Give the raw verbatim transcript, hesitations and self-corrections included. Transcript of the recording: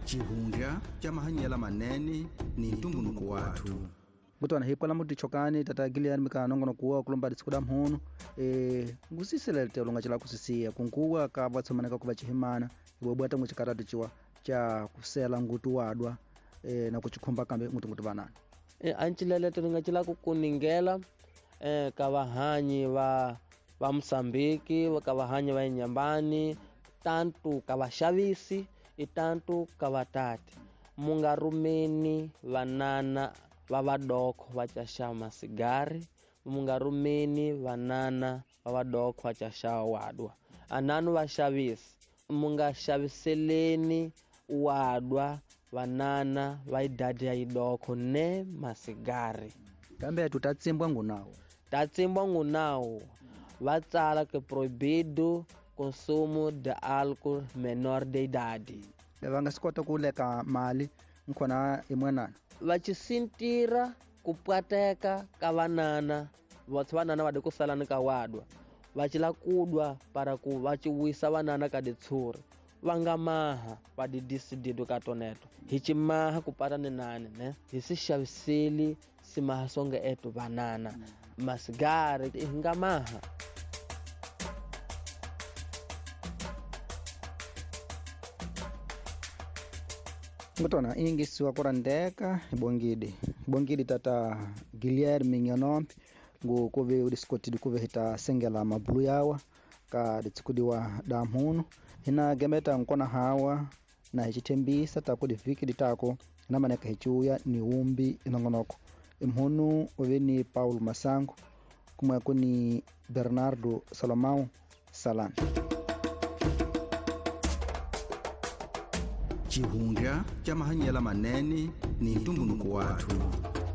Xihundla xa mahanyelo manene ni ntumbuluko wathu. Kutwana hi kwala mutichokani tata Gillian mika nongonoko wa kulomba ditsikuda mhunu eh ngusiselele longa chila kusisiya kunkuwa ka vatsomaneka kuva chihimana ibobwa tangu chikaratu chiwa cha kusela ngutu wadwa eh na kuchikhumba kambe ngutu ngutu vanana eh ancilele nga chila kukuningela eh ka vahanyi va va Mozambique ka vahanyi va Inyambani tantu ka vaxavisi itantu ka vatati mungarumeni vanana va vadoko va caxa masigari mungarumeni vanana va vadoko va caxa wadwa ananu vaxavisi mungaxaviseleni wadwa vanana va idadi ya idoko ne masigari kambe tutatsimbwa ngunawo tatsimbwa ngunawo va tsala que proibido consumo de álcool menor de idade. Va nga swi kota ku leka mali nkhona imwenana va cisintira ku pwateka ka vanana vatsi vanana va de ku sala ni ka wadwa va cila kudwa para ku va ciwisa vanana ka ditshuri va nga maha va di disidido ka toneto hi cimaha ku pata ni nani ne hi si xaviseli simaha songe eto vanana masigari hi nga maha. Ngutona ingisiwa kurandeka ibongidi ibongidi tata Guilherme Nyonombe ngu kuve udiskotidi kuve hita sengela mabulu yawa ka ditsikudiwa damhunu hina gemeta nkona hawa na hichitembisa takudi viki ditako na maneka hichuya ni umbi inongonoko imhunu uve ni Paulo Masango kumwe kuni Bernardo Salomão Salan. Xihundla xa mahanyelo manene ni ntumbuluko wathu.